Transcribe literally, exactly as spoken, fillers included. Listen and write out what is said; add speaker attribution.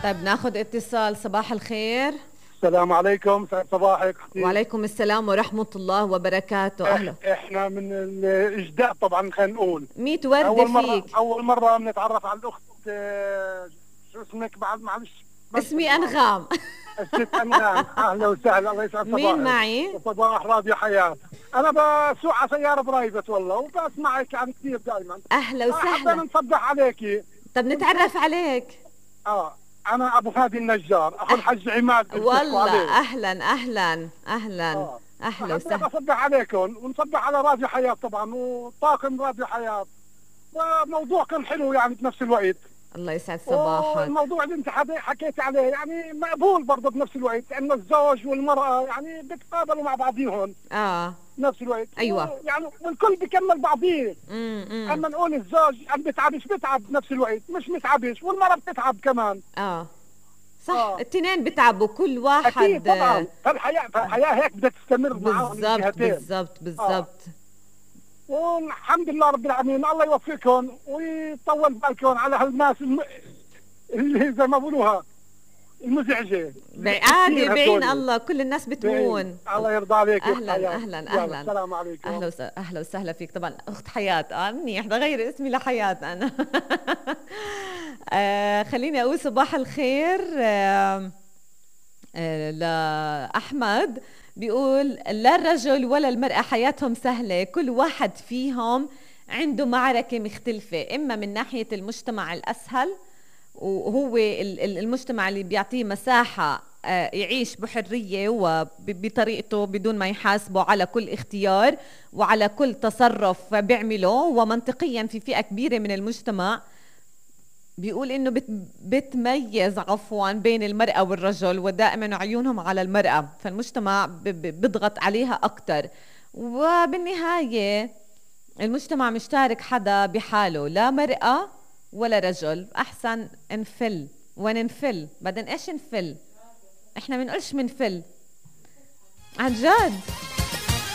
Speaker 1: طيب ناخد اتصال. صباح الخير.
Speaker 2: السلام عليكم، سعد صباحك اختي.
Speaker 1: وعليكم السلام ورحمة الله وبركاته. أهلا.
Speaker 2: احنا من الإجداء طبعا، خلينا نقول
Speaker 1: ميت وردة
Speaker 2: أول مرة
Speaker 1: فيك.
Speaker 2: أول مرة بنتعرف على الأخت. آه، شو اسمك بعد؟ معلش.
Speaker 1: اسمي أنغام.
Speaker 2: الست أنغام، أهلا وسهلا، الله يسعد صباحك.
Speaker 1: مين معي؟
Speaker 2: صباح راديو حياة. أنا بسوق على سيارة برايفت والله، وبسمعك يعني كثير دائما.
Speaker 1: أهلا وسهلا.
Speaker 2: حبينا نصبح عليكي.
Speaker 1: طب نتعرف عليك.
Speaker 2: اه أنا أبو فادي النجار، أخو الحج عماد.
Speaker 1: والله أهلا أهلا أهلا.
Speaker 2: آه.
Speaker 1: أهلا وسهلا.
Speaker 2: بصبح عليكم ونصبح على راديو حياة طبعا وطاقم راديو حياة. وموضوع كان حلو يعني بنفس الوقت.
Speaker 1: الله يسعد صباحك.
Speaker 2: الموضوع اللي انت حكيت عليه يعني مقبول برضه بنفس الوقت، لأن الزوج والمرأة يعني بيتقابلوا مع بعضيهم.
Speaker 1: اه
Speaker 2: بنفس الوقت.
Speaker 1: ايوه
Speaker 2: يعني والكل بيكمل بعضيه.
Speaker 1: امم
Speaker 2: اما نقول الزوج عم بيتعبش، بيتعب بنفس الوقت، مش متعبش، والمرأة بتتعب كمان.
Speaker 1: اه صح.
Speaker 2: آه.
Speaker 1: التنين بتعبوا كل واحد.
Speaker 2: اكيد طبعا. فالحياة فالحياة هيك بدها تستمر معاهم
Speaker 1: بالضبط بالضبط بالضبط.
Speaker 2: والحمد لله رب العالمين، الله يوفقكم ويطول بالكم على هالناس الم... اللي زي ما بقولوها المزعجه.
Speaker 1: عادي بعين الله، كل الناس بتهون.
Speaker 2: الله يرضى عليك.
Speaker 1: اهلا اهلا اهلا.
Speaker 2: السلام عليكم.
Speaker 1: اهلا وسهلا. اهلا وسهلا فيك. طبعا اخت حياة. اه منيح بغير اسمي لحياة انا. آه خليني اقول صباح الخير. آه آه لاحمد، بيقول لا الرجل ولا المرأة حياتهم سهلة، كل واحد فيهم عنده معركة مختلفة، إما من ناحية المجتمع الأسهل وهو المجتمع اللي بيعطيه مساحة يعيش بحرية وبطريقته بدون ما يحاسبه على كل اختيار وعلى كل تصرف بيعمله، ومنطقيا في فئة كبيرة من المجتمع بيقول إنه بت بتميز عفوا بين المرأة والرجل، ودائما عيونهم على المرأة، فالمجتمع بيضغط عليها أكتر. وبالنهاية المجتمع مش تارك حدا بحاله، لا مرأة ولا رجل. أحسن نفل وننفل. بعدين إيش نفل؟ إحنا منقولش منفل عن جد.